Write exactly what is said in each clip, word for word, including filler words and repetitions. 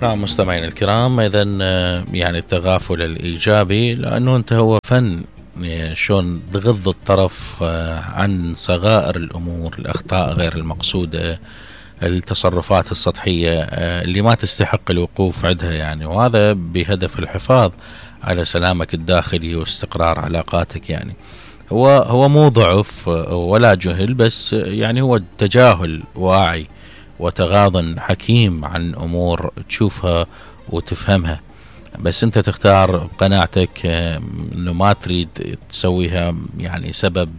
نعم مستمعينا الكرام، إذا يعني التغافل الإيجابي لأنه أنت هو فن شلون تغض الطرف عن صغائر الأمور، الأخطاء غير المقصودة، التصرفات السطحية اللي ما تستحق الوقوف عندها يعني، وهذا بهدف الحفاظ على سلامك الداخلي واستقرار علاقاتك. يعني هو هو مو ضعف ولا جهل، بس يعني هو تجاهل واعي وتغاضى حكيم عن أمور تشوفها وتفهمها، بس أنت تختار بقناعتك أنه ما تريد تسويها يعني سبب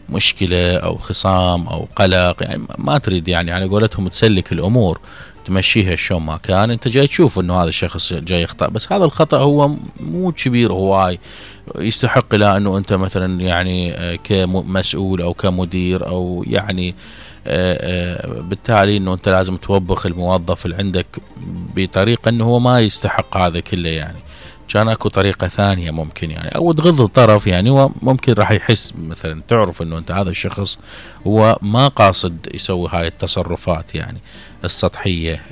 بمشكلة أو خصام أو قلق، يعني ما تريد يعني على قولتهم تسلك الأمور تمشيها شلون ما كان. أنت جاي تشوف أنه هذا الشخص جاي يخطأ، بس هذا الخطأ هو مو كبير هواي يستحق لا أنه أنت مثلا يعني كمسؤول أو كمدير أو يعني بالتالي أنه أنت لازم توبخ الموظف اللي عندك بطريقة أنه هو ما يستحق هذا كله. يعني كان اكو طريقة ثانية ممكن يعني، او تغض الطرف يعني، هو ممكن راح يحس مثلا تعرف انه انت هذا الشخص هو ما قاصد يسوي هاي التصرفات يعني السطحية،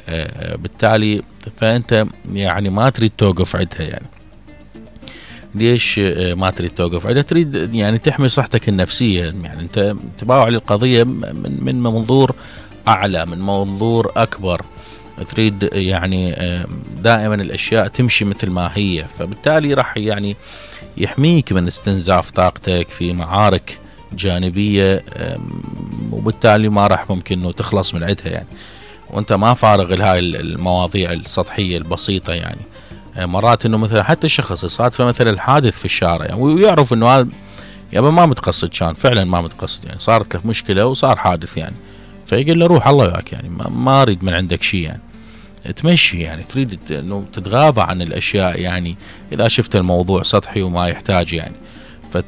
بالتالي فانت يعني ما تريد توقف عندها. يعني ليش ما تريد توقف عندها؟ تريد يعني تحمي صحتك النفسية، يعني انت تباوع للقضية من من منظور اعلى، من منظور اكبر، تريد يعني دائما الاشياء تمشي مثل ما هي، فبالتالي راح يعني يحميك من استنزاف طاقتك في معارك جانبية، وبالتالي ما راح ممكن انه تخلص من عندها يعني، وانت ما فارغ لهاي المواضيع السطحية البسيطة. يعني مرات انه مثلا حتى الشخص صادفه مثلا الحادث في الشارع يعني، ويعرف انه هذا يابا ما متقصد، كان فعلا ما متقصد يعني، صارت له مشكلة وصار حادث يعني، فيقول له روح الله وياك يعني، ما اريد من عندك شيء يعني، تمشي يعني، تريد انه تتغاضى عن الاشياء يعني اذا شفت الموضوع سطحي وما يحتاج يعني،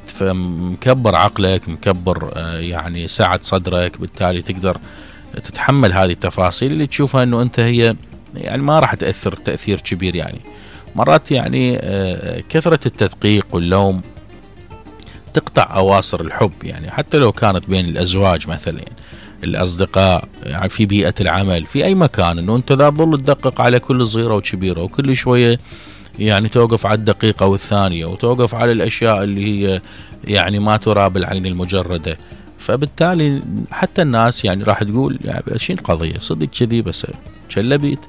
فمكبر عقلك، مكبر يعني سعة صدرك، بالتالي تقدر تتحمل هذه التفاصيل اللي تشوفها انه انت هي يعني ما راح تأثر تأثير كبير. يعني مرات يعني كثرة التدقيق واللوم تقطع أواصر الحب، يعني حتى لو كانت بين الأزواج مثلا يعني، الأصدقاء يعني، في بيئة العمل، في أي مكان، أنه أنت لا تظل تدقق على كل صغيرة وكبيرة، وكل شوية يعني توقف على الدقيقة والثانية، وتوقف على الأشياء اللي هي يعني ما ترى بالعين المجردة، فبالتالي حتى الناس يعني راح تقول يعني شين القضية صدق كذي بس شلبيت.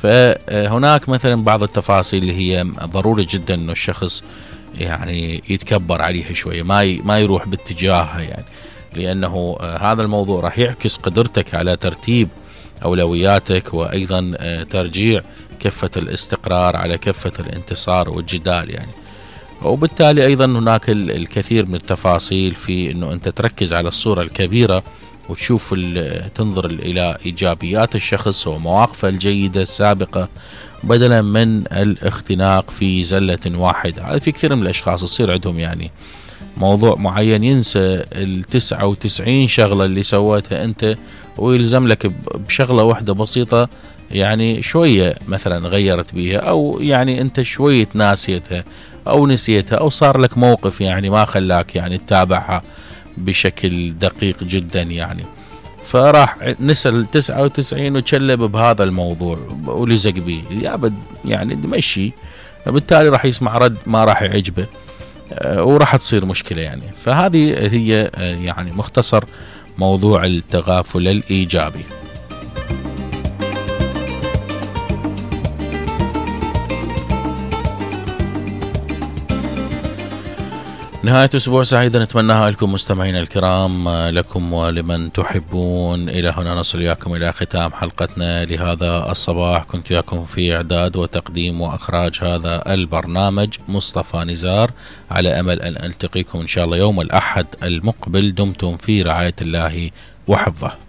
فهناك مثلا بعض التفاصيل اللي هي ضروري جدا أنه الشخص يعني يتكبر عليها شوية، ما ما يروح باتجاهها يعني، لأنه هذا الموضوع راح يعكس قدرتك على ترتيب أولوياتك، وأيضا ترجيع كفة الاستقرار على كفة الانتصار والجدال يعني. وبالتالي أيضا هناك الكثير من التفاصيل في أنه أنت تركز على الصورة الكبيرة، وتشوف تنظر إلى إيجابيات الشخص ومواقفه الجيدة السابقة، بدلا من الاختناق في زلة واحدة. هذا في كثير من الأشخاص يصير عندهم يعني موضوع معين، ينسى التسعة وتسعين شغلة اللي سويتها أنت، ويلزم لك بشغلة واحدة بسيطة يعني شوية مثلا غيرت بيها، أو يعني أنت شوية ناسيتها أو نسيتها، أو صار لك موقف يعني ما خلاك يعني تتابعها بشكل دقيق جدا يعني، فراح نسأل تسعة وتسعين وتشلب بهذا الموضوع ولزق بيه يابد يعني دمشي، بالتالي راح يسمع رد ما راح يعجبه وراح تصير مشكلة يعني. فهذه هي يعني مختصر موضوع التغافل الإيجابي. نهاية أسبوع سعيدة نتمناها لكم مستمعينا الكرام، لكم ولمن تحبون. إلى هنا نصل إياكم إلى ختام حلقتنا لهذا الصباح. كنت إياكم في إعداد وتقديم وإخراج هذا البرنامج مصطفى نزار، على أمل أن ألتقيكم إن شاء الله يوم الأحد المقبل. دمتم في رعاية الله وحفظه.